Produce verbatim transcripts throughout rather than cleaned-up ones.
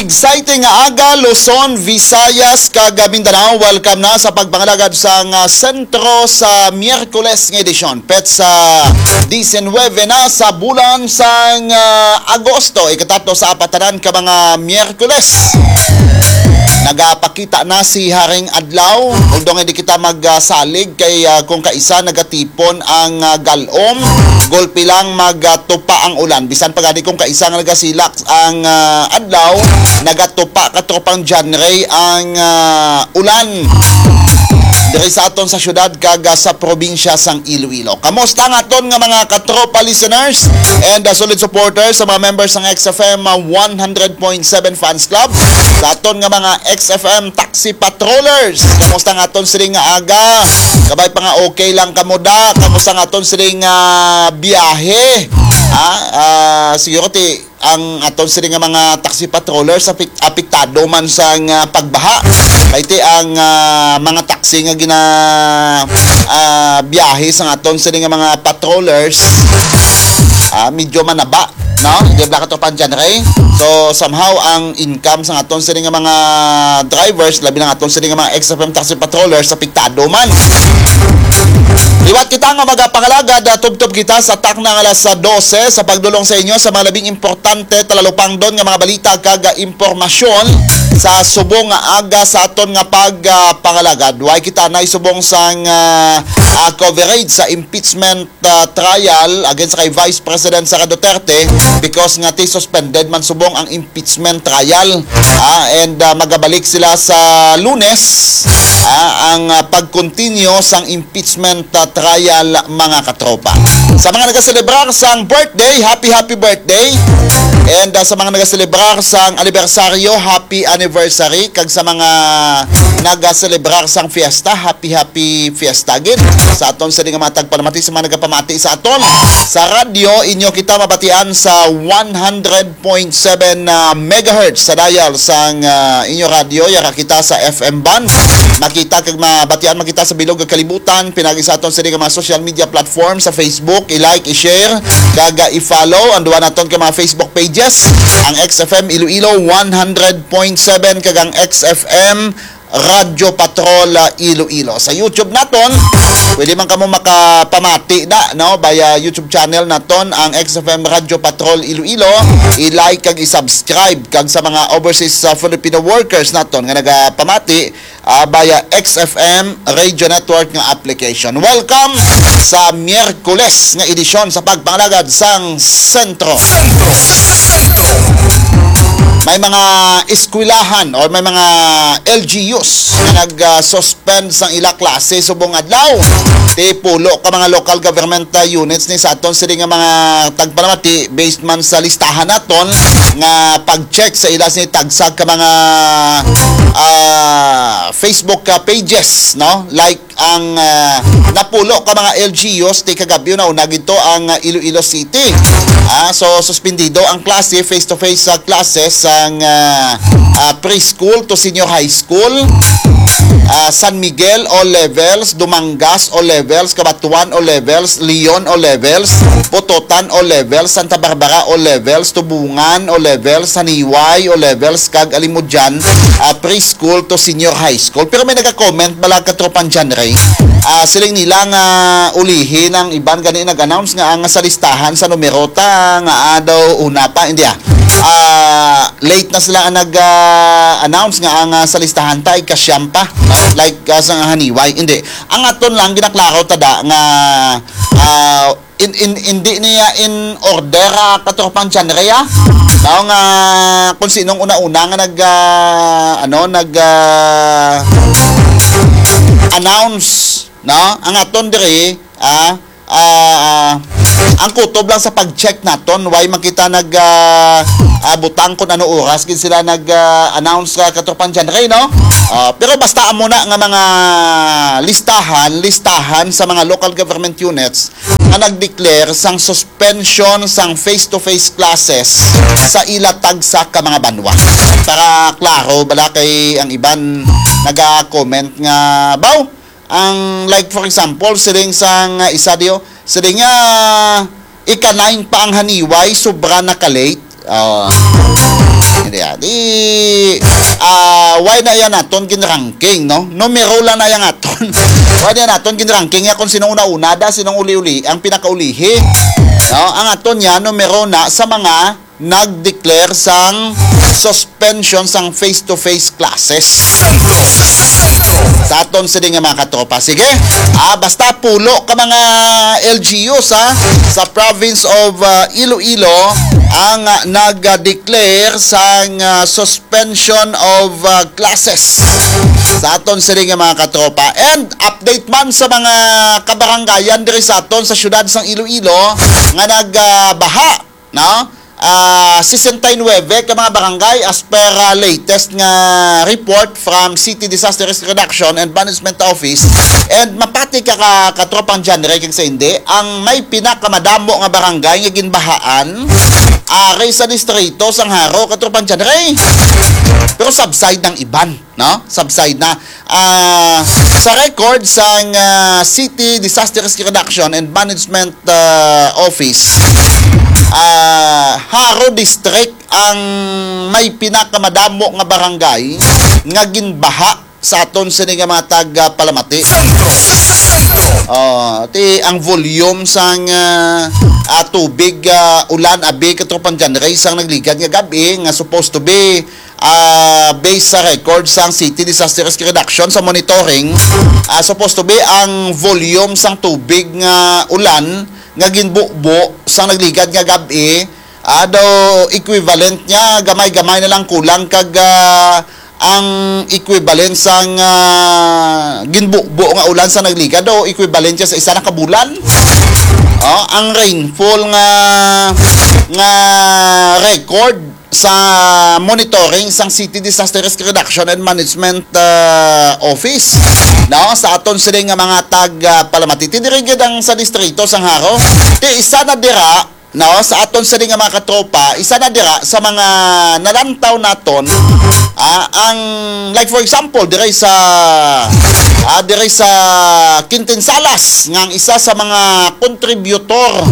Exciting nga aga, Luzon, Visayas, kag Mindanao. Welcome na sa pagpangalagad sang, ah, sentro sa Miyerkules nga edisyon, petsa diecinueve na sa bulan sang, ah, Agosto, ikatatlo sa apat tanan ka mga Miyerkules. Nagapakita na si Haring Adlaw, although hindi kita magsalig kay, ah, kung kaisa nagatipon ang, ah, galom, gulpi lang magtupa ang ulan. Bisan pa gani kung kaisa nga nagasilak ang, ah, adlaw, nagatupa, katropang John Ray, ang, ah, ulan diri sa aton sa syudad kag, ah, sa probinsya sang Iloilo. Kamusta ang aton nga mga katropa listeners and, ah, solid supporters sa mga members ng X F M, ah, one hundred point seven Fans Club, sa aton nga mga X F M taxi patrollers? Kamusta ang aton sining nga aga? Kabay pa nga okay lang kamo da? Kamusta ang aton sining, ah, biyahe? Ah, ah, siguro ti ang aton sini nga mga taxi patrollers apek-, apektado man sang, ah, pagbaha. Kay ti ang, ah, mga taxi nga gina, ah, biyahe sang aton sini nga mga patrollers, ah, medyo manaba, no? Di ba, katropang John Ray? So, somehow, ang income sang aton sini nga mga drivers, labi na ang aton sini nga mga X F M taxi patrollers, apektado man. Liwat kita nga magapangalagad, ah, tubtob kita sa takna nga alas dose sa pagdulong sa inyo sa mga labing importante, talalupangdon nga mga balita kag, ah, impormasyon sa subong nga aga sa aton nga pag, ah, pangalagad. Way kita na isubong sang, ah, ah, coverage sa impeachment, ah, trial against kay Vice President Sara Duterte because nga ti suspended man subong ang impeachment trial. Ah, and, ah, magabalik sila sa Lunes, ah, ang, ah, pag-continue sang impeachment, ah, trial, mga katropa. Sa mga nagaselebrar sang birthday, happy, happy birthday. And, ah, sa mga nagaselebrar sang anibersaryo, happy anniversary. Kag sa mga nagaselebrar sang fiesta, happy, happy fiesta gid. Sa aton sini nga mga tagpalamati, sa mga nagapamati sa aton sa radyo, inyo kita mabatian sa one hundred point seven, ah, megahertz sa dial sang, ah, inyo radyo. Yara kita sa F M band. Makita kag mabatian man kita sa bilog nga kalibutan, pinagi sa aton sini nga mga social media platform, sa Facebook, i-like, i-share, kag, ah, i-follow ang duha naton ka mga Facebook pages, ang X F M Iloilo one hundred point seven kag ang X F M Radyo Patrol, ah, Iloilo. Sa YouTube naton, pwede man kamo makapamati da, no, via YouTube channel naton, ang X F M Radyo Patrol Iloilo. I-like kag i-subscribe. Kag sa mga overseas, ah, Filipino workers naton nga nagapamati, ah, via X F M Radio Network nga application. Welcome sa Miyerkules nga edisyon sa pagpangalagad sang Sentro. May mga eskwelahan or may mga L G Us nga nag, ah, suspend sang ila klase subong adlaw. Ti pulo ka mga local government, ah, units ni sa aton sini nga mga tagpalamati based man sa listahan naton nga pag-check sa ila sini tagsa ka mga, ah, Facebook, ah, pages, no? Like ang, ah, napulo ka mga L G Us ti kagabyo na una gito ang, ah, Iloilo City. Ah, so, suspendido ang klase, face-to-face, ah, classes sang, ah, ah, preschool to senior high school. Ah, San Miguel, all levels, Dumangas, all levels, Cabatuan, all levels, Leon, all levels, Pototan, all levels, Santa Barbara, all levels, Tubungan, all levels, Saniway, all levels, kag Alimodian, ah, preschool to senior high school. Pero may naga-comment bala, katropang John Ray. Ah, siling nila nga ulihi ang iban gani nag-announce nga ang sa listahan sa numero ta nga, ah, daw una pa, hindi, ah. Ah, late na sila ang nag, ah, announce nga ang, ah, sa listahan ta ay kasyam pa, no? Like, ah, sa nga Haniway, hindi. Ang aton lang ginaklaro ta da nga, ah, in, in, hindi niya in order, ah, katropang John Ray, ah. Tao nga kung sinong una-una nga nag, ah, ano, nag, ah, announce, no? Ang aton diri, ah, ah, ang kutob lang sa pag-check naton, way makita nag, ah, ah, butang kung ano oras gid sila nag, ah, announce ka, katropang John Ray, no? Ah, pero basta amo na nga mga listahan, listahan sa mga local government units nga nag-declare sang suspension sang face-to-face classes sa ila tagsa ka mga banwa. Para klaro bala kay ang iban naga-comment nga, "Baw, ang, like, for example, siling sang, ah, isa diyo, siling nga ika-nine pa ang Haniway, sobra na ka-late." Ah, Kaya di, ah, why na yan naton gin-ranking, no? Numero lang na yan naton. Why na yan naton gin-ranking? Nga kung sinong una-una da, sinong uli-uli, ang pinakaulihi. No? Ang aton yan, numero na sa mga nag-declare sang suspension sang face-to-face classes. Sa aton sini nga mga katropa. Sige, ah, basta pulo ka mga L G Us, ha, sa province of, ah, Iloilo ang, ah, nag-declare sang, ah, suspension of, ah, classes. Sa aton sini nga mga katropa. And update man sa mga kabarangayan diri sa aton sa siyudad sang Iloilo nga nagbaha, no? Ah, sesenta y nuebe ka mga barangay as per, ah, latest nga report from City Disaster Risk Reduction and Management Office. And mapati ka, ka katropang John Ray, kag sa hindi, ang may pinakamadamo nga barangay nga ginbahaan ari sa distrito sang Jaro, katropang John Ray. Pero subside ng iban, no? Subside na. Ah, sa record sang, ah, City Disaster Risk Reduction and Management, ah, Office, ah, Jaro District ang may pinakamadamo nga barangay nga ginbaha sa aton sini nga mga tag, ah, palamati. Oh, ti ang volume sang, ah, ah, tubig, ah, ulan, abi, katropang John Ray, sang nagligad nga gab-i nga supposed to be, ah, based sa record sang City Disaster Risk Reduction sa monitoring, ah, supposed to be ang volume sang tubig nga ulan nga ginbubo sang nagligad nga gab-i, ah, daw equivalent niya, gamay-gamay na lang kulang kag, ah, ang equivalent sang, ah, ginbubo nga ulan sa nagligad, daw equivalent siya sa isa na ka bulan. Oh, ang rainfall nga, nga record sa monitoring sang City Disaster Risk Reduction and Management, ah, Office, no, sa aton sini nga mga tag, ah, palamati. Ti diri gid ang sa distrito sang Jaro. Ti isa na dira, no, sa aton sini nga mga katropa, isa na dira sa mga nalantaw naton, ah, ang, like, for example, diri sa, ah, diri sa Quintinsalas, nga ang isa sa mga contributor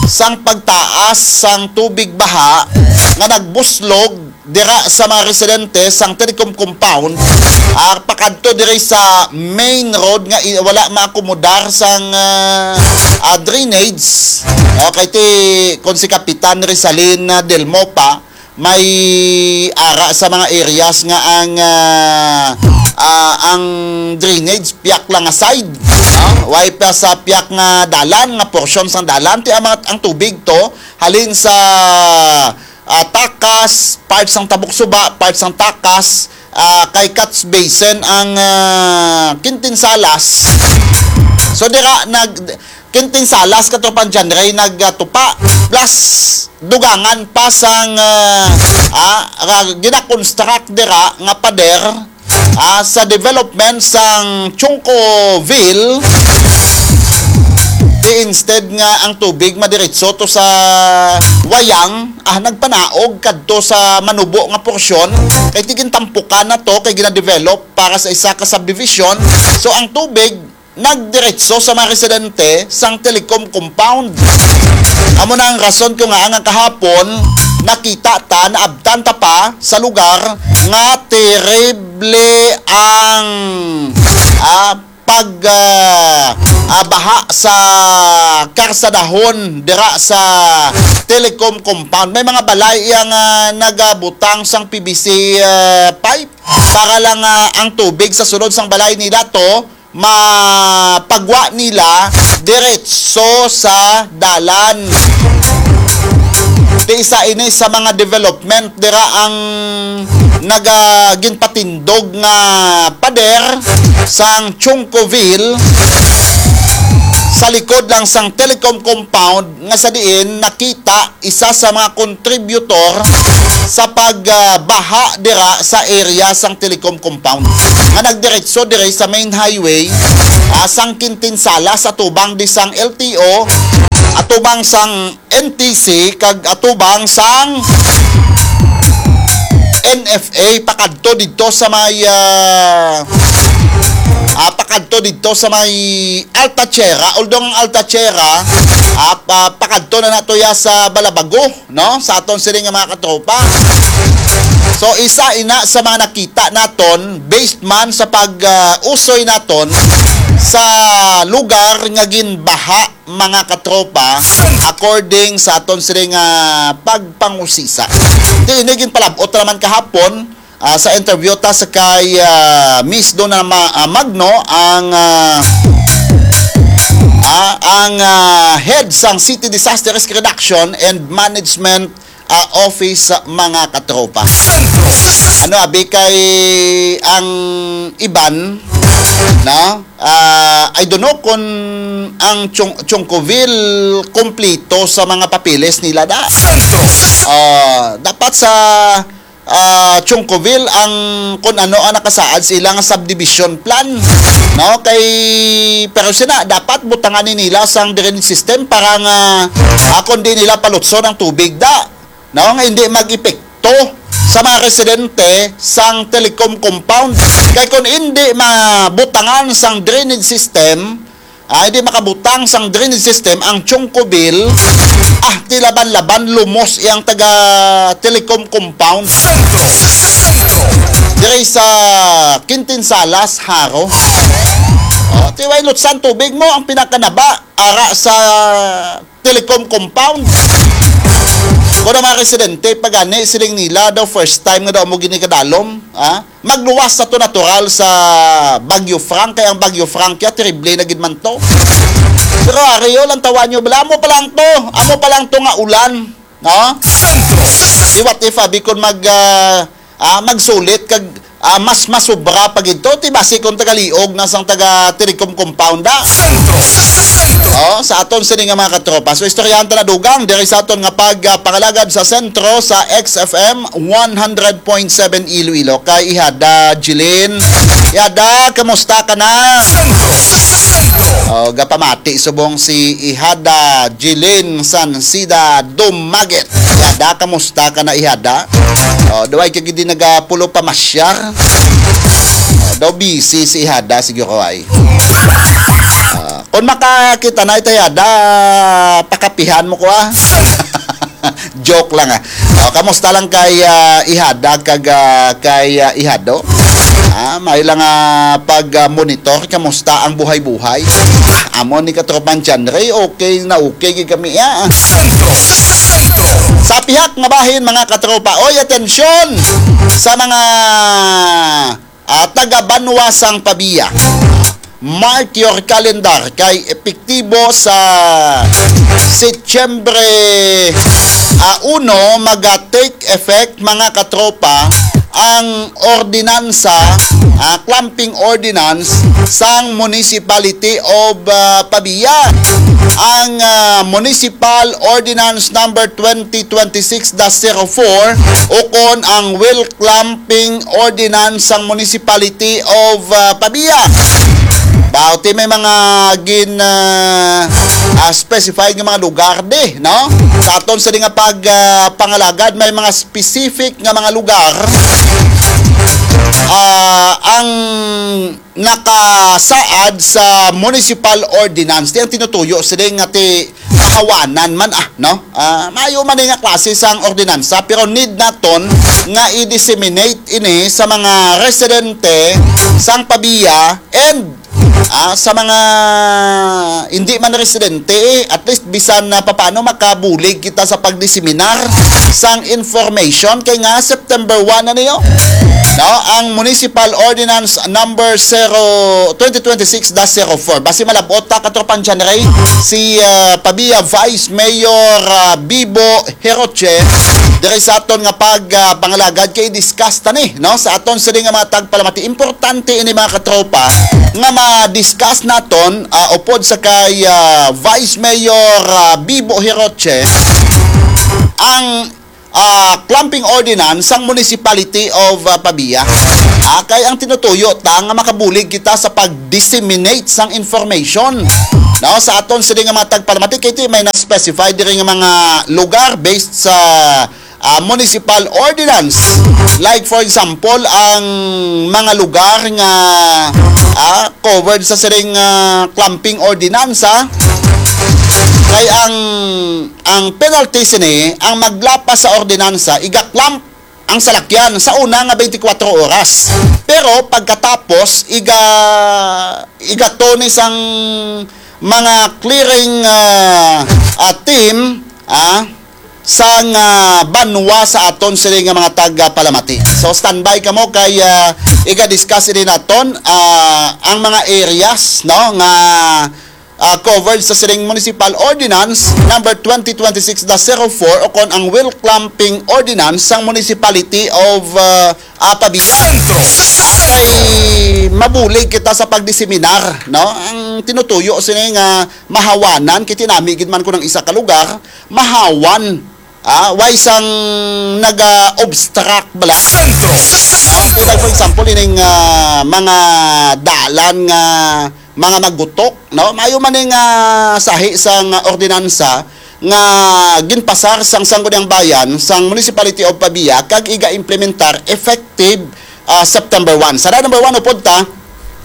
sang pagtaas sang tubig baha nga nagbuslog dira sa mga residente sang Telecom Compound, ah, pakadto diri sa main road nga i-, wala maakomodar sang, ah, ah, drainage. Okay, ti kon si Kapitan Rizalin, ah, Del Mopa, may ara sa mga areas nga ang, ah, ah, ang drainage piyak lang nga side, no? Way pa sa piyak nga dalan, nga portion sang dalan, ti ang mga, ang tubig to halin sa, ah, Takas, part sang Tabok Suba, part sang Takas, ah, kay catch basin ang, ah, Quintinsalas. So dira nag Quintinsalas, katropang John Ray, nagtupa. Plus, dugangan pa sang, ah, ah, ra-, gina-construct dira nga pader, ah, sa development sang Chuncoville. Di instead nga ang tubig madiretso to sa Wayang, ah, nagpanaog kadto sa Manubo nga porsyon, kay ti gintampukan na to, kay gina-develop para sa isa ka subdivision. So, ang tubig nagdiretso sa mga residente sang Telecom Compound. Amo na ang rason kung nga nga kahapon nakita ta, naabtan ta pa sa lugar nga terrible ang, ah, pag, ah, ah, baha sa karsadahon dira sa Telecom Compound. May mga balay iya nga nagabutang sang P V C, ah, pipe para lang, ah, ang tubig sa sulod sang balay nila to mapagwa nila diretso sa dalan. Ti isa ini sa mga development dira ang naga-, ginpatindog nga pader sang Chuncoville sa likod lang sang Telecom Compound, nga sa diin nakita isa sa mga contributor sa pagbaha dira sa area sang Telecom Compound nga nagdiretso diri sa main highway, ah, sang Quintinsalas, atubang di sang L T O, atubang sang N T C, kag atubang sang N F A, pakadto didto sa may, ah, ah, pakadto kadto didto sa may Alta Tierra, although ang Alta Tierra, ah, pa-, pakadto na nato ya sa Balabago, no? Sa aton sini nga mga katropa. So, isa ina sa mga nakita naton, based man sa pag, ah, usoy naton sa lugar nga ginbaha, mga katropa, according sa aton sini nga pagpangusisa. Di ini ginpalabot naman kahapon, ah, sa interview ta sa kay, ah, Miss Donna Ma-, ah, Magno, ang, ah, ah, ang, ah, head sang City Disaster Risk Reduction and Management, ah, Office, mga katropa. Ano, abi, kay ang iban, no? Ah, I don't know kung ang Chung-, Chungcoville kompleto sa mga papeles nila da. Ah, dapat sa, ah, Chungcoville ang kung ano ang nakasaad sa ilang subdivision plan, no? Kay, pero sina, dapat butangan ni nila sang drainage system para nga, ah, kung di nila palutson ang tubig da, no? Nga hindi mag-epekto sa mga residente sang Telecom compound. Kay kung hindi mabutangan sang drainage system, ah, hindi makabutang sang drainage system ang Chungcoville, ah, ti laban-laban lumos iyang taga Telecom compound diri sa Quintin Salas, Jaro. Oh, ti way lutsan tubig mo ang pinakanaba ara sa Telecom compound. Kung ang mga residente, pagani, siling nila, daw first time nga daw mo gini kadalom, ha? Magluwas sa to natural sa Bagyo Frank, kay ang Bagyo Frank ya, terrible na gid man to. Pero ari, o, lantawan nyo, bala, amo pa lang to, amo pa lang to nga ulan, no? Di what if, abi, kung mag, ah, ah, magsulit kag, ah, mas masubra pa gid to, ti basi kung tagaliog na sang taga Telecom compound, ah. Oh, sa aton sini nga mga katropa. So, istoryahan ta na dugang diri sa aton nga pag, ah, pangalagad sa sentro sa X F M one hundred point seven Iloilo kay Ihada Jilin. Ihada, kamusta ka na? Oh, gapamati subong si Ihada Jilin Sansida Dumagit. Ihada, kamusta ka na, Ihada? Oh, duway ka gid nagapulo pa masyar. Oh, daw busy si Ihada siguro ay. Ah, kung makakita na ito, Ihada, pakapihan mo ko, ah. Joke lang, ah. Oh, kamusta lang kay, ah, Ihada kag, ah, kay, ah, Ihado? Ah, may lang, ah, pag, ah, monitor, kamusta ang buhay-buhay? Ah, amo ni katropang John Ray, okay na okay gid kami, ah. Sa pihak nga bahin, mga katropa, oy, atensyon sa mga, ah, taga Banwa sang Pavia. Mark your calendar, kay epektibo sa Setyembre, ah, uno, maga-take effect, mga katropa, ang ordinansa, ah, clamping ordinance sang Municipality of, ah, Pavia. Ang, ah, Municipal Ordinance Number twenty twenty-six dash zero four, ukon ang Will Clamping Ordinance sang Municipality of, ah, Pavia. Bauti may mga gin, ah, ah, specified nga mga lugar di, no? Sa aton sa di nga pag, ah, pangalagad, may mga specific nga mga lugar, ah, ang nakasaad sa municipal ordinance. Di ang tinutuyo sila nga ti kahawanan man, ah, no? Ah, maayo man ni nga klase sang ordinansa, pero need naton nga i-disseminate ini sa mga residente sang Pavia and, ah, sa mga hindi man residente, eh, at least bisan na papaano makabulig kita sa pagdiseminar sang information kay nga September one na niyo. No, ang Municipal Ordinance Number zero, twenty twenty-six dash zero four. Basi malabot ta, katropang John Ray, si, ah, Pavia Vice Mayor, ah, Bibo Heroche, diri sa aton nga pag, ah, pangalagad kay discuss ta ni, no? Sa aton sini nga mga tagpalamati, importante ini, mga katropa, nga ma-discuss naton, ah, upod sa kay, ah, Vice Mayor, ah, Bibo Heroche, ang, ah, clamping ordinance sang Municipality of, ah, Pavia. Ah, kay ang tinutuyo ta nga makabulig kita sa pag-disseminate sang information, no, sa aton sini nga mga tagpalamati, kay ti may na-specify diri nga mga lugar based sa, ah, municipal ordinance. Like, for example, ang mga lugar nga, ah, covered sa siring, ah, clumping ordinansa, kay ang, ang penalty sini, ang maglapas sa ordinansa, iga-clamp ang salakyan sa una nga twenty-four oras. Pero pagkatapos, iga-, igatoni sang mga clearing, ah, ah, team, ah, sang, ah, banwa sa aton sini nga mga taga-Palamati. So, standby kamo kay, ah, iga-discuss ini naton, ah, ang mga areas, no, nga, ah, covered sa siring Municipal Ordinance number twenty twenty-six dash zero four o kon ang wheel clamping ordinance sang Municipality of, ah, ah, Pavia. Kay mabulig kita sa pagdiseminar, no? Ang tinutuyo sini nga mahawanan, kay tinami gid man ko ng isa ka lugar, mahawan. Ah, way sang naga-obstruct bala. Ah, kay, like, for example, ining, ah, mga dalan nga mga magutok, no? Maayo man ning, ah, sahi sang ordinansa nga ginpasar sang Sangguniang Bayan sang Municipality of Pavia kag iga-implementar effective, ah, September one. Sa number one, upod ta,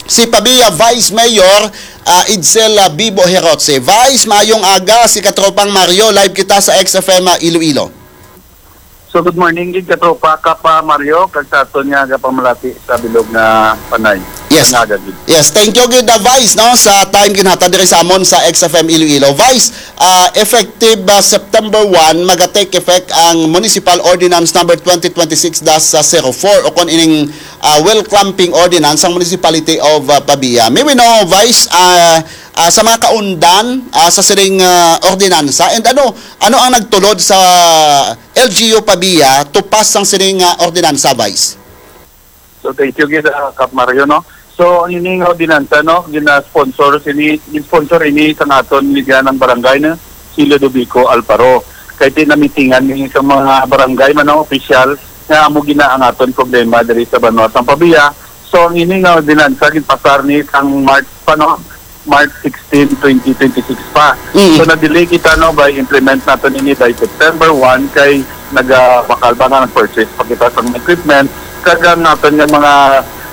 si Pavia Vice Mayor, ah, Edsel, ah, Bibo Herotse. Vice, maayong aga, si Katropang Mario, live kita sa X F M, ah, Iloilo. So, good morning gid, Katropa Kap, ah, Mario, kag sa aton nga gapamalati sa bilog nga Panay. Yes. Nga aga gid. Yes, thank you gid, ah, Vice, no, sa time ginhatag diri sa amon sa X F M Iloilo. Vice, ah, effective, ah, September one, maga-take effect ang Municipal Ordinance number twenty twenty-six dash zero four o kon ining, ah, wheel clamping ordinance sang Municipality of, ah, Pavia. May we know, Vice, ah, ah, sa mga kaundan, ah, sa siring, ah, ordinansa, and ano, ano ang nagtulod sa L G U Pavia to pass sang siring nga ordinansa, Vice? So, thank you gid, ah, Kap Mario, no? So, ang ini nga ordinansa, no, gina-sponsor sini, gin-sponsor ini sa aton liganang barangay, no, si Ludovico Alparo. Kay tinamitingan ni sa mga barangay man ang opisyal nga amo gina ang aton problema diri sa banwa sang Pavia. So, ang ini nga ordinansa ginpasar ni sang March pa, no? March sixteen, twenty twenty-six pa. Mm. So, na-delay kita, no, by implement naton ini by September one kay nagabakal pa nga nag-purchase pa kita sa mga equipment. Kag ang naton nga mga,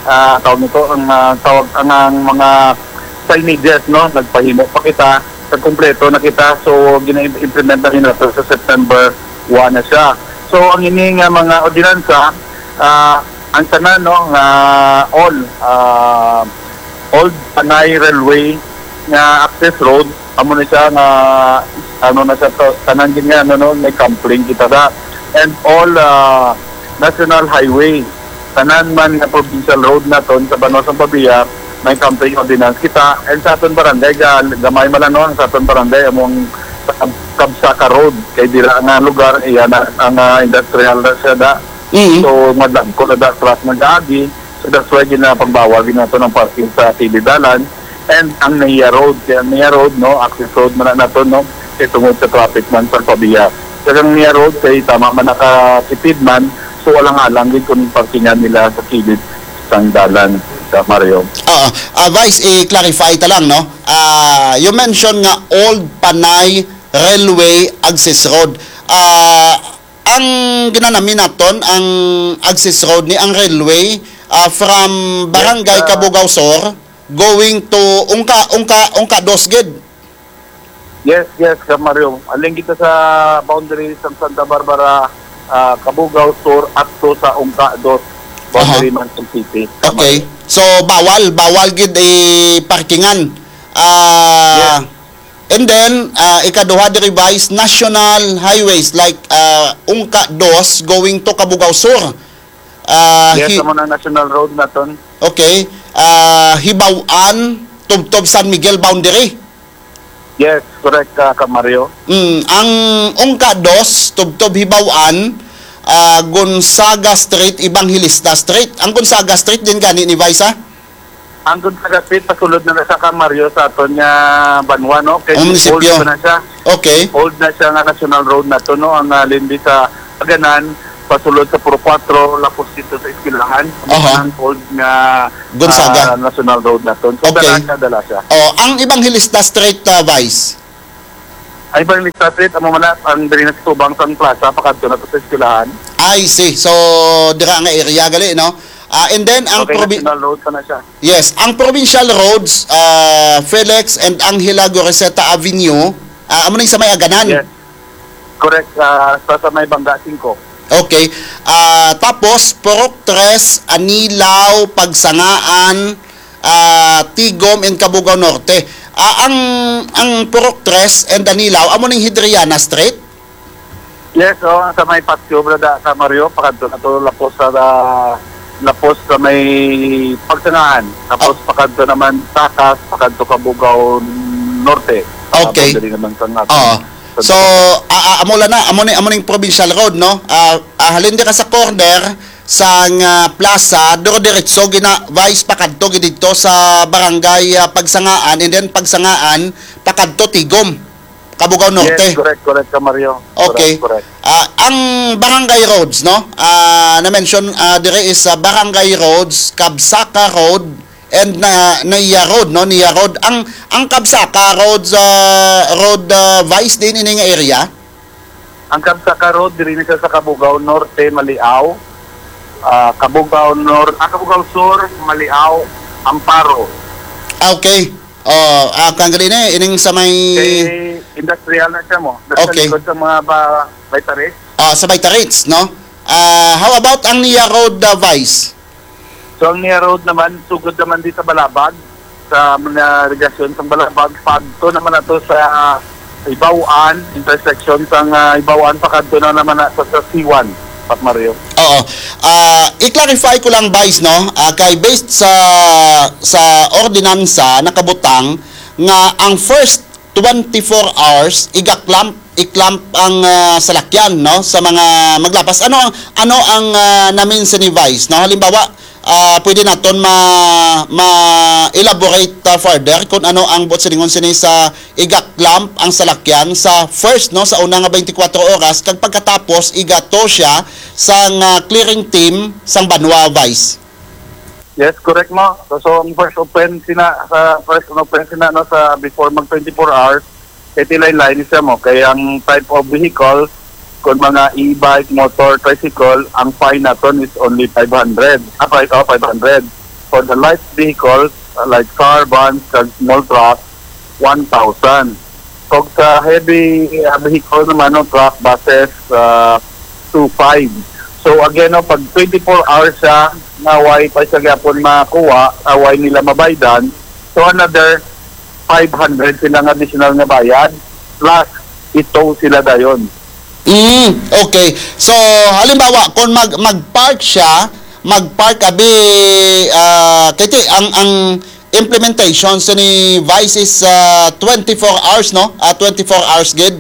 ah, tawag nito, ang, ah, tawag, ang, ang mga signages, no, nagpahimo pa kita, sa kompleto na kita. So, gina-implement na rin nato sa September one na siya. So, ang ini nga mga ordinansa, ah, ang tanan, no, nga all, ah, Old Panay Railway nga access road, amo na siya nga, ano na siya, to, tanan gid nga, ano, no, may complaint kita da. And all, ah, national highway, tanan man nga provincial road naton sa banwa sang Pavia, may complaint ordinance kita. And sa aton barangay, ga-, gamay man lang, no, ang sa aton barangay, among sa Kab-, Kabsaka Road, kay dira nga lugar, iya na, ang, ah, industrial na siya da. Mm. So, madagko na da, truck nag-agi. So, that's why ginapagbawal gid nato ang parking sa kilid dalan. And ang Naya Road, kay ang Naya Road, no, access road man na nato, no, kay tungod sa traffic man sa Pavia. Kag ang Naya Road, kay tama man nakatipid man, so alang-alang gid kung parkingan nila sa kilid sang dalan, sa Mario. Oo. Ah, Vice, i-clarify ta lang, no? Ah, you mentioned nga Old Panay Railway Access Road. Ah, ang ginanami naton, ang access road ni ang railway, ah, from Barangay Yes, ah, Cabugao Sur going to Ungka, Ungka, Ungka Dos gid. Yes, yes, Kap Mario. Aling kita sa boundary sa Santa Barbara, ah, Cabugao Sur, up to sa Ungka Dos, boundary Aha. man sa city, Kap Okay. Mario. So, bawal, bawal gid i-parkingan. Ah, Yes. And then, ah, ikaduha, the revised national highways like, ah, Ungka Dos going to Cabugao Sur. Ah, Yes, hi- amo na ang national road naton. Okay. Ah, Hibaw-an, tubtob San Miguel boundary. Yes, correct, ah, Kap Mario. Mm, ang Ungka Dos, tubtob Hibaw-an, ah, Gonzaga Street, Evangelista Street. Ang Gonzaga Street din gani ni Vice, ah? Ang Gonzaga Street, pasulod na na sa Kap Mario sa aton nga banwa, no? Kay Ang munisipyo. old pa na siya. Okay. Old na siya nga national road nato, no? Ang, ah, lindi sa Paganan, pasulod sa Puro Cuatro, lapos dito sa Eskwelahan. Aha. Ang old nga, Gonzaga. ah, national road nato. So, Okay. dala siya, dala siya. Oh, ang Evangelista Street, ah, Vice? Ay, Evangelista Street, amo man na, ang diri na sa tubang sang plaza, pakadto na to sa eskwelahan. I see. So, dira nga area gali, no? Ah, and then, ang Okay, probi- National Road pa na siya. Yes, ang provincial roads, ah, Felix and Angela Goriseta Avenue, ah, amo ning sa may Aganan. Yes. Correct, ah, sa, sa may Bangga singko. Okay. Ah, tapos, Purok Tres, Anilao, Pagsangaan, ah, Tigom, and Cabugao Norte. Ah, ang, ang Purok Tres and Anilao, amo ning Hidriana Street? Yes, oh, sa may Patio, brada, sa Mario, pakadto na to, lapos sa, ah, lapos sa may Pagsangaan. Tapos Ah. pakadto naman, Takas, pakadto Cabugao Norte. Ah, Okay. boundary naman sa nga. Oo. Sa So, ah, ah, amo lang na, amo ni, amo ning provincial road, no? Ah, ah, halin di ka sa corner sang, ah, plaza, duro diretso gina Vice pakadto gid didto sa barangay, ah, Pagsangaan, and then Pagsangaan pakadto Tigom, Cabugao Norte. Yes, correct, correct ka, Mario. Okay. Correct, correct. Ah, ang barangay roads, no? Ah, na-mention, ah, dire is, ah, Barangay Roads, Kabsaka Road, and na, Nia Road, no? Nia Road. Ang, ang Kabsaka Road, ah, Road, ah, Vice din ini nga area? Ang Kabsaka Road, diri ni siya sa Cabugao Norte, Maliao. Ah, Cabugao Nor-, ah, Cabugao Sur, Maliao, Amparo. Ah, okay. Oh, ah, kang gali ni, ining sa may Kay industrial na siya mo. Nasa Okay. likod sa mga ba, Baitares. Ah, sa Baitares, no? Ah, how about ang Nia Road, ah, Vice? So, ang Nia Road naman, sugod naman di sa Balabag, sa mga regasyon sa Balabag, pagto naman na to sa Ibawan, intersection sa, ah, Ibawan, pakadto na naman na sa, sa C one, Pat Mario. Oo. Ah, i-clarify ko lang, Vice, no? Ah, kay based sa, sa ordinansa, nakabutang nga ang first twenty-four hours, iga-clamp, i-clamp ang, ah, salakyan, no, sa mga maglapas. Ano ang, ano ang, ah, namin sa ni Vice, no? Halimbawa, ah, pwede naton ma-, ma-elaborate, ah, further kung ano ang buot silingon sini sa iga-clamp ang salakyan sa first, no, sa una nga twenty-four oras, kag pagkatapos iga-tow siya sang, ah, clearing team sang banwa, Vice. Yes, correct mo. So, so ang first offense sina, sa first offense sina, no, sa before mag twenty-four hours, kay tilay-lay ni siya mo. Kay ang type of vehicle, kung mga e-bike, motor, tricycle, ang fine naton is only five hundred. Ah, five, oh, five hundred. For the light vehicles, uh, like car, vans, kag small truck, one thousand. Kung sa heavy, uh, vehicle naman, no, truck, buses, uh, two five. So again, no, pag twenty-four hours siya, na way pa siya gyapon makuha, uh, way nila mabaydan, so another five hundred sila nga additional nga bayad, plus ito sila dayon. Mm, okay. So, halimbawa, kung mag, mag-park siya, mag-park abi, ah, kay ti, ang, ang implementation sa ni Vice is, ah, twenty-four hours, no? Ah, twenty-four hours gid.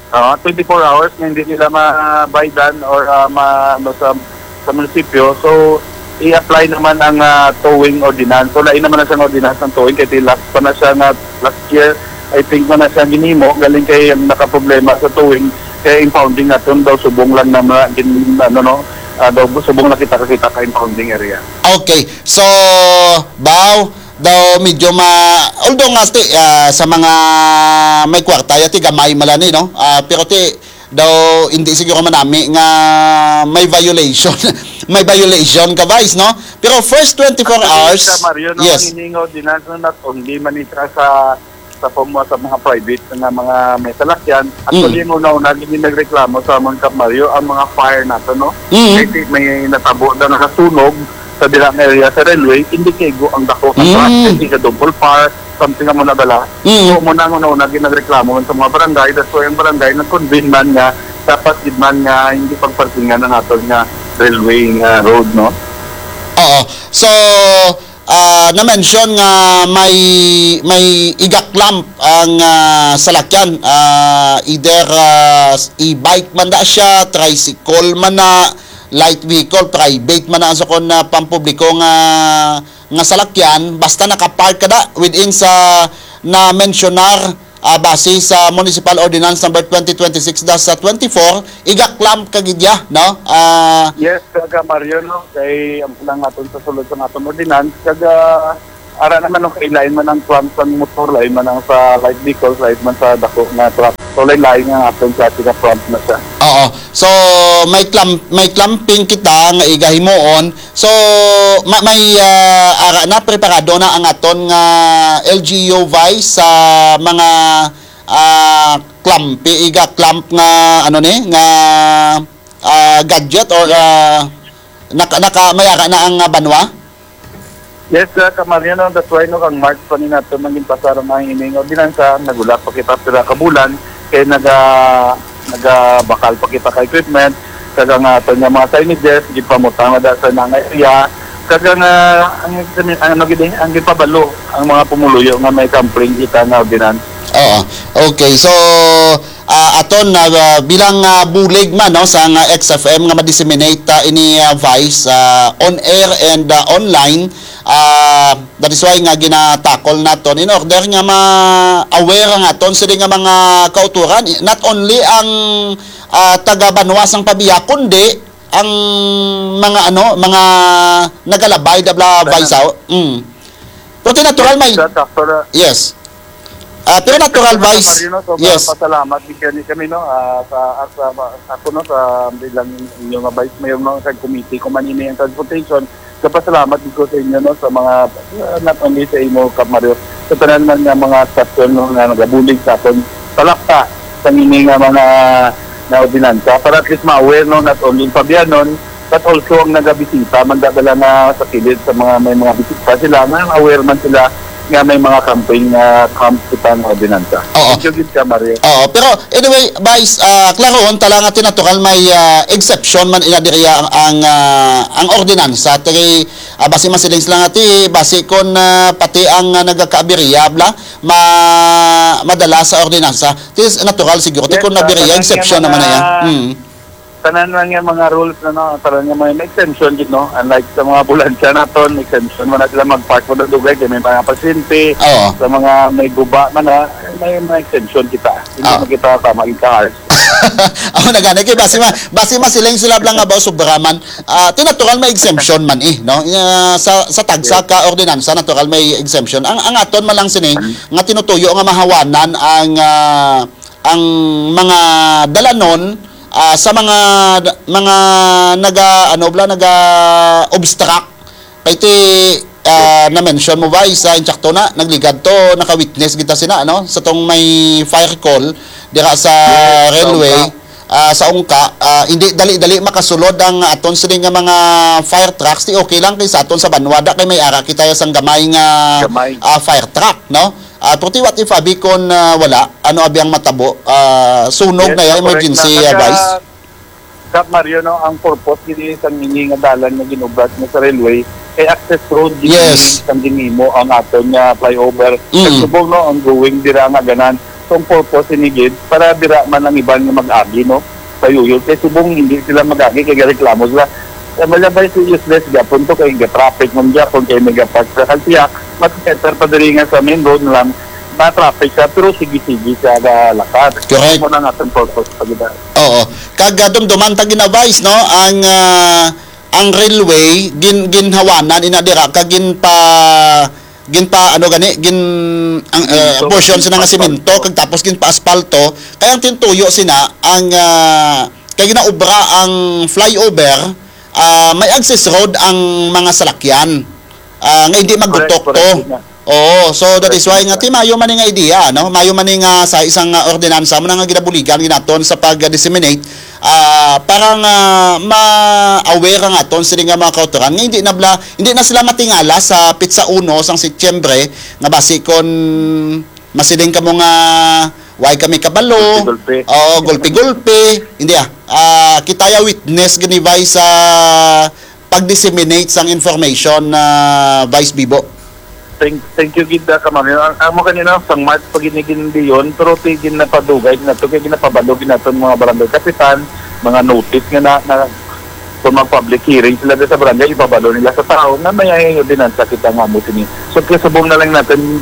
Ah, twenty-four hours nga hindi nila mabaydan or, ah, ma-, ano, sa, sa munisipyo. So, i-apply naman ang, ah, towing ordinance. So, lain naman na siyang ordinance ng towing kay ti last pa na siya nga last year, I think, man na siya ginimo, galing kay ang nakaproblema sa towing, kay impounding naton daw subong lang na mga gin-, ano, no, ah, daw subong lang kita kakita ka impounding area. Okay. So, baw, daw medyo ma-, although nga ti, ah, sa mga may kwarta, ya ti gamay malani, no? Ah, pero ti, daw hindi siguro manami nga may violation. May violation ka, Vice, no? Pero first twenty-four Actually, hours, sa Mario, no, yes. Ang hiningaw din na, no, not only man siya sa, sa form sa mga private nga mga may salakyan. Actually, Mm. ang una-una, hindi nagreklamo sa mga Kap Mario, ang mga fire nato, no? Mm. Kasi may natabo na nakasunog sa dilang area sa railway, hindi kaigo ang dako sa Mm. truck, hindi ka double park, something nga mo nadala. Mm. So, mo na, mo na, una, ginagreklamo man sa mga barangay, that's why ang barangay nag-convene man nga dapat gid man nga hindi pagparkingan ang aton nga railway nga road, no? Oo. So, ah, na-mention nga may, may iga-clamp ang, ah, salakyan, ah, either, ah, e-bike man na siya, tricycle man na, light vehicle, private man na, sa kon, ah, pampubliko nga, nga salakyan, basta nakapark ka da within sa na-mensionar, ah, base sa Municipal Ordinance Number twenty twenty-six dash twenty-four, iga-clamp ka gid ya, no? Ah, Yes, kaga Mario, no? Kay ang lang aton sa sulod sa aton ordinance, kaga Ara naman, no, kay lain man ang clamp sang motor, lain man ang sa light vehicles, lain man sa dako nga truck. So, lain-lain nga aton sa ating clamp na siya. Oo. So, may clamp, may clamping kita nga igahimuon. So, ma-, may, ah, ara na, preparado na ang aton nga L G U, Vice, sa mga, ah, clamp, iga clamp nga, ano ni, nga, ah, gadget or, ah, naka, naka, may ara na ang, ah, banwa? Yes, uh, Kamario, no, that's why, no, kang March pa ni nato nang ginpasar ang ining ordinansa, nagula pa kita pira ka bulan, kay naga-, nagabakal pa kita ka equipment, kag ang aton nga mga signages, gipamutang na da sa nang area, kag ang, ah, ang, ang, ano gid eh, ang gipabalo ang mga pumuluyo nga may kampring kita nga ordinansa. Oo. Okay. So, ah, aton, ah, bilang, ah, bulig man, no, sa nga X F M nga ma-disseminate, ah, ini, ah, Vice, ah, on air and, ah, online, ah, that is why nga ginatakol naton in order nga ma-aware ang aton sini nga mga kauturan, not only ang, ah, taga banwa sang Pavia, kundi ang mga, ano, mga nagalabay da bla, Vice, ah. Mm. Pero natural may Sa sakto na. Yes. Ah, pero natural, Sa Vice. Mario, no? So, Yes. Pasalamat gid kani kami, no? Ah, sa, sa, sa ako, no, sa bilang inyo nga Vice Mayor, no, sa committee ko man ini ang transportation. So, pasalamat gid ko sa inyo, no, sa mga, ah, not only sa imo, Kap Mario, sa tanan man nga mga stasyon, no, nga nagabulig sa aton palakta sa ini nga mga na ordinansa para at least ma-aware, no, not only ang Pabianon, but also ang nagabisita man da bala nga sa kilid sa mga may mga bisita sila, nga aware man sila nga may mga camping, ah, camp kita nga ordinansa. Oo. Thank you gid ka, Mario. Oo, pero anyway, Vice, ah, klarohon ta lang nga natural may, ah, exception man ina diriya ang, ang, ah, ang ordinansa. Kay, ah, basi masiling sila nga ti, basi kon, ah, pati ang, ah, nagakaabiriya bla, ma-, madala sa ordinansa. Ti natural siguro, ti Yes, kon ah, nabiriya, tanan nga exception naman na mga yan. Mm. Tanan lang nga mga rules, ano, tanan nga may, may exemption gid, no? Unlike sa mga ambulansya naton, exemption man na sila mag-park mo na dugay kay may mga pasyente, Oo. sa mga may guba man na, may mga exemption kita. Hindi Ah. man kita tama yung ka-harsh. Ako na gani kay basi ma-, basi masiling sila lang nga ba sobra man. Ah, ti natural may exemption man eh, no? Ah, sa, sa tagsa Yes. ka ordinansa, natural may exemption. Ang, ang aton man lang sini Mm. nga tinutuyo nga mahawanan ang, ah, ang mga dalanon, ah, sa mga, mga naga, ano bla, naga-obstruct. Kay ti, ah, na-mention mo ba, isa, insakto na, nagligad to, naka-witness kita sina, ano? Sa tong may fire call, dira sa Yes, railway, sa Ungka. ah, sa Ungka, ah, hindi dali-dali makasulod ang aton sini nga mga fire trucks, ti okay lang kay sa aton sa banwa, da kay may ara kita sang gamay nga, Gamay. ah, fire truck, no? Ah, pero ti what if abi kon, ah, wala? Ano abi ang matabo? Ah, sunog Yes, na ya, correct emergency, na. ah, Kaya, Vice? Kap Mario, no, ang purpose gid sang ini nga dalan nga ginubrat mo sa railway kay access road gid Yes. ini sang ginhimo ang aton nga flyover. Mm. Sa subong, no, ang going dira nga ganan. So, ang purpose ini gid para dira man ang iban nga mag-agi, no, sa yuyod. Kay subong hindi sila mag-agi kay gareklamo sila. Kaya malabay si useless gapon to kay ga-traffic man gapon kay may gapark sa kalsiyak. Mas better pa diri nga sa main road na lang, ma-traffic siya, pero sige-sige siya galakat. Correct. Mo na nga ang purpose pa gid. Oo. Kag, ah, dumduman ta gina-, Vice, no? Ang, ah, ang railway, gin-, ginhawanan ina dira, kag ginpa-, ginpa-, ano gani, gin-, ang, eh, Semento, portion sila nga semento, paspalto. Kag tapos ginpa-aspalto. Kay ang tintuyo sina, ang, ah, kay ginaobra ang flyover, ah, may access road ang mga salakyan. Ah, nga hindi Correct, magutok correct, to. Gid na. Oo, so that Correct, is why gid nga na. Ti mayo man ni nga idea, no? Mayo man ni nga sa isang, ah, ordinansa mo na nga ginabuligan ginaton sa pag-disseminate, ah, para nga ma-aware ang aton sini nga mga kautoran nga hindi na bla-, hindi na sila matingala sa pitsa uno sang Setyembre nga basi kon masiling kamo nga way kami kabalo. Gulpi-gulpi. Oo, gulpi-gulpi. Hindi ah. Ah, kita ya witness gani, Vice, sa pag-disseminate sang information na Vice Bibo. Thank, thank you gid, ah, Kap Mario. Ang, ang mo kanina, sang March pa gid ni gindiyon, pero ti ginapadugay na to, kay ginapabalo gid naton mga barangay kapitan, mga notice nga na, na kung mag-public hearing sila sa barangay, ipabalo nila sa tao na may ordinansa kita nga mo sini. So, kasubong na lang natin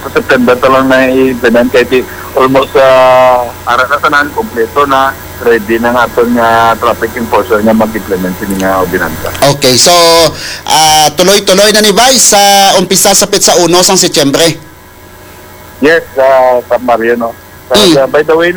sa September ta lang na i-implement kay ti almost, ah, ara na tanan, kompleto na. ready na nga aton nga traffic enforcer nga mag-implement sini nga ordinansa. Okay, so ah, tuloy-tuloy na ni, Vice, sa umpisa sa petsa uno sang Setyembre. Yes, uh, Sir Mario, no? Uh, Mm. the- by the way, no,